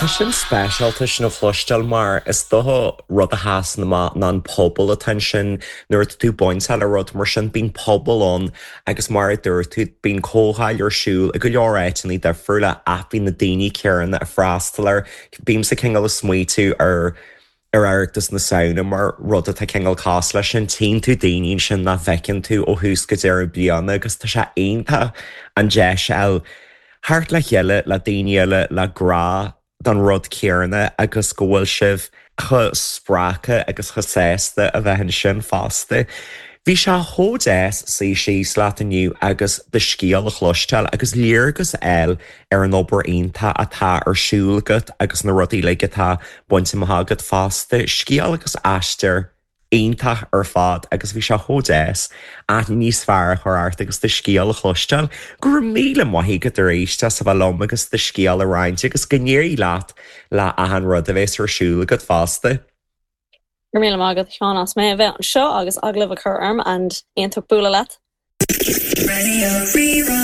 Tá sin speisialta sin a chloisteáil mar is dócha rud a sheasann amach ná an pobal atá ansin. Nuair atá tú bainteach le rud mar sin bíonn pobal ann agus mar a dúirt tú bíonn comhdháil ar siúl i go leor áiteanna difriúla ach bíonn na daoine céanna ag freastal air. Bímse cineál ag smaoitiú ar ar Oireachtas na Samhna mar rud atá cineál cosúil leis sin, tchíonn tú daoine ansin nach bhfeiceann tú ó thús go deireadh bliana agus tá sé iontach an deis a fháil theacht le chéile le daoine eile le grá don rud céanna agus go bhfuil sibh chomh spreagtha agus chomh sásta a bheith ansin fosta. Bhí sé chomh deas suí síos leat inniu agus do scéal a chloisteáil agus léargas a fháil ar an obair iontach atá ar siúl agat agus na rudaí uilig atá bainte amach agat fosta. Scéal agus aistear iontach ar fad agus bhí sé chomh deas aithne níos fearr a chur ort agus do scéal a chloisteáil. Go raibh míle maith agat arís as a bheith liom agus do scéal a roinnt agus go n-éirí leat le achan rud a bheas ar siúl agat fosta. Go raibh míle maith agat a Sheáin as mé a bheith anseo agus agallamh a chur orm and iontach bualadh leat. Raidió Rí-Rá.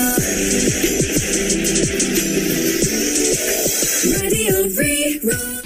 Raidió Rí-Rá.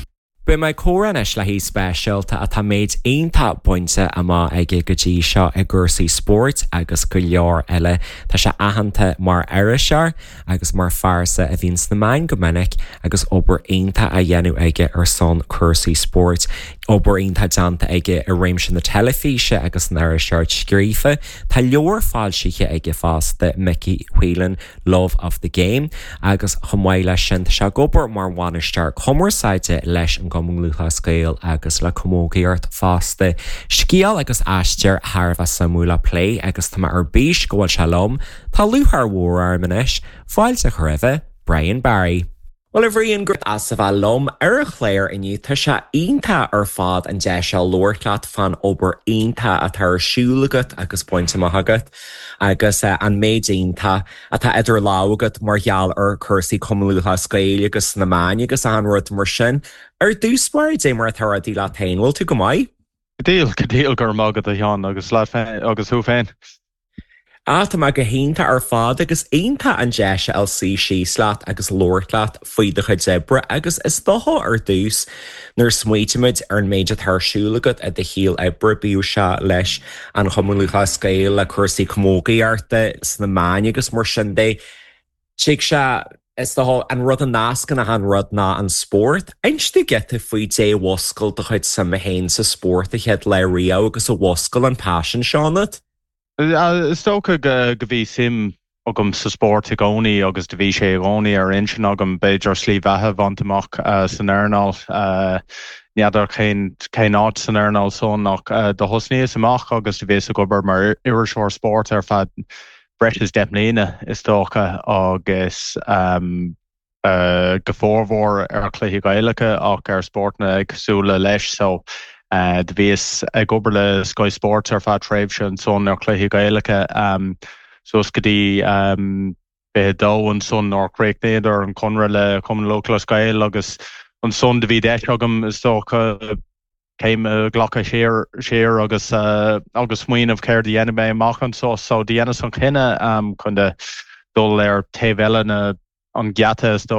Beidh mé ag comhrá anois le haoi speisialta atá méid iontach bainte amach aige go dtí seo i gcúrsaí spóirt agus go leor eile. Tá sé aitheanta mar iriseoir agus mar phearsa a bhíonn sna meáin go minic agus obair iontach á dhéanamh aige ar son cúrsaí spóirt. Obair iontach déanta aige i réimse na teilifíse agus san iriseoireacht scríofa. Tá leabhar foilsithe aige fosta, Mickey Whelan, Love of the Game, agus chomh maith leis sin tá sé ag obair mar bhainisteoir cumarsáide leis an gCumann Lúthchleas Gael agus le camógaíocht fosta. Scéal agus aistear thar a bheith suimiúil le plé agus tá mé ar bís go bhfuil sé liom. Tá lúcháir mhór orm anois fáilte a chur roimhe, Brian Barry. Bhuel a Bhriain, go raibh as a bheith liom ar an chlár inniu. Tá sé iontach ar fad an deis seo labhairt leat fán obair iontach atá ar siúl agat agus bainte amach agat agus an méid iontach atá idir lámha agat mar gheall ar chúrsaí Cumann Lúthchleas Gael agus sna meáin agus achan rud mar sin. Ar dtús báire, dé mar atá rudaí leat féin, bhfuil tú go maith? Go diail, go diail, go raibh maith agat a Sheáin agus leat féin agus thú féin. Ah, tá mé go hiontach ar fad agus iontach an deis a fháil suí síos leat agus labhairt leat faoi do chuid oibre agus is dócha ar dtús nuair a smaoitímid ar an méid atá ar siúl agat i do shaol oibre, bíodh sé leis an Chumann Lúthchleas Gael, le cúrsaí camógaíochta, sna meáin agus mar sin de, tig sé, is dócha, an rud a nascann achan rud ná an spórt. Inis domh giota faoi dé a mhuscail do chuid suime féin sa spórt a chéad lá riamh agus a mhuscail an paisean seo ionat. Is dócha go bhí suim agam sa spórt i gcónaí agus do bhí sé i gcónaí ar intinn agam b'fhéidir slí bheatha a bhaint amach san earnáil. N'fheadar cén cén áit san earnáil san ach do thosnaíos amach agus do bhíos ag obair mar iriseoir spóirt ar feadh breis is 10 mbliana is dócha agus go formhór ar chluichí Gaelacha ach ar spórtanna éagsúla leis. So do bhíos ag obair le Sky Sports ar feadh tréimhse ansan ar chluichí Gaelacha suas go dtí 22 ansan nuair a chríochnaíodar an conradh le Cumann Lúthchleas Gael agus ansan do bhí deis agam is dócha céim a ghlacadh siar siar agus agus smaoineamh céard a dhéanfaidh mé amach anso. So do dheineas an cinneadh chun dul ar taobh eile na an geata is dócha.